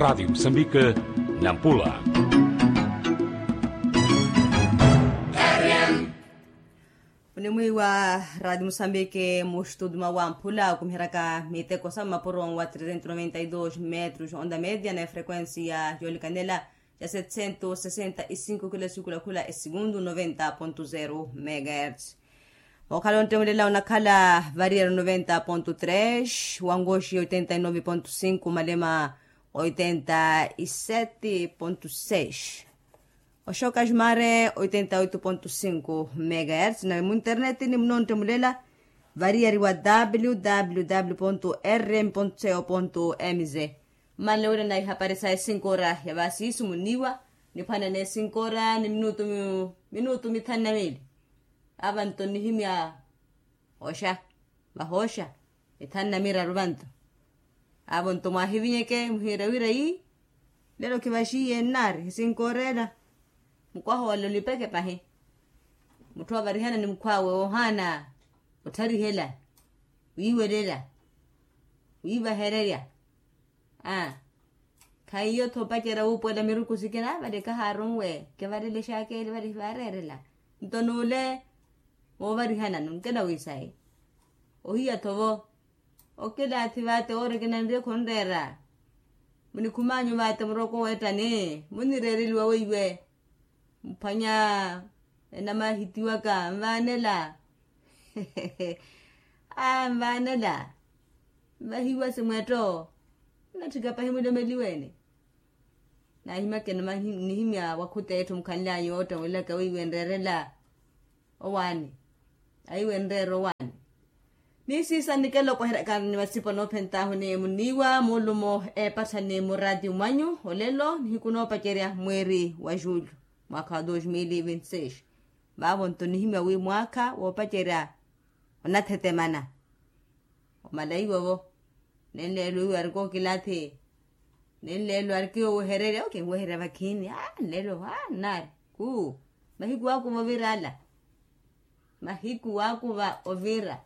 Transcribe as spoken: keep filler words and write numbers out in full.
Radi musambike, nampula. Munimwiiwa radi musambike mu studio mwa wamphula okumiheryaka miteko sa mmapuro wa trezentos noventa y dos metros onda media na efrequencia yoolikanela ya setcentos sesenta y cinco kila sikulakhula esigundu noventa ponto zero megahertz. Mookhala ontemulela onakhala variyari noventa ponto tres, wangoxi oitenta y nove ponto cinco malema oitenta y sete ponto seis, oxoka jumare oitenta y oito ponto cinco megahertz na muinterneti ni munontemulela variyari wa www rm co mz. Mmanle wira na ihapari sa esinkora ya vasiisu muniiwa niphwanane esinkora ni minutu minutu mithanu na miili. Avanto nihimya oxa vahooxa ithanu na miraru vanto. Avo nto mwahivinyeke muhiira wira ii lelo khivaxiiye nnaari hisinkoorela. Mukwaha wala olipeke pahi mutthu avarihana ni mukhw'awe woohaana ottharihela wiiwelela wiivahererya. Aa khaiyo-tho opacerya wuupuwela miruku sikina vale kahaarunwe kivalelexaka ele vale hivaareerela. Nto n'ule woovarihanani onkela wiisayi ohiya-tho vo okilaathi vate woori kinanriye khunreera. Munikhumaanyu vate muroko weettani munireereliwa weiwe muphwanya enamahitiwaka nvaanela. Aa nvaanela nvahiwa simwetto nnatthika pahi mulomeliwene. Naahimyakene nihimya wakhuta etthu mukhanly'anyu oottemuwelaka weiwe nreerela owaani. Aiwe nreera owaani. Ni siisa nikelo okweheryaka ni masipo noophentaahu ni muniiwa muulumo eepattha ni muraati mwanyu olelo nihiku noopacerya mweeri wa julho mwaakha wa dos mil vinti seis. Vaavo nto nihimya wi mwaakha woopacerya onathetemana omala iwo vo. Nenleelo iwo arikookilathi nenleelo arikiyoowehererya okinwehererya vakhiini aa nleelo aa nnaari kuu. Mahiku waakuva ovira ala mahiku waakuva ovira.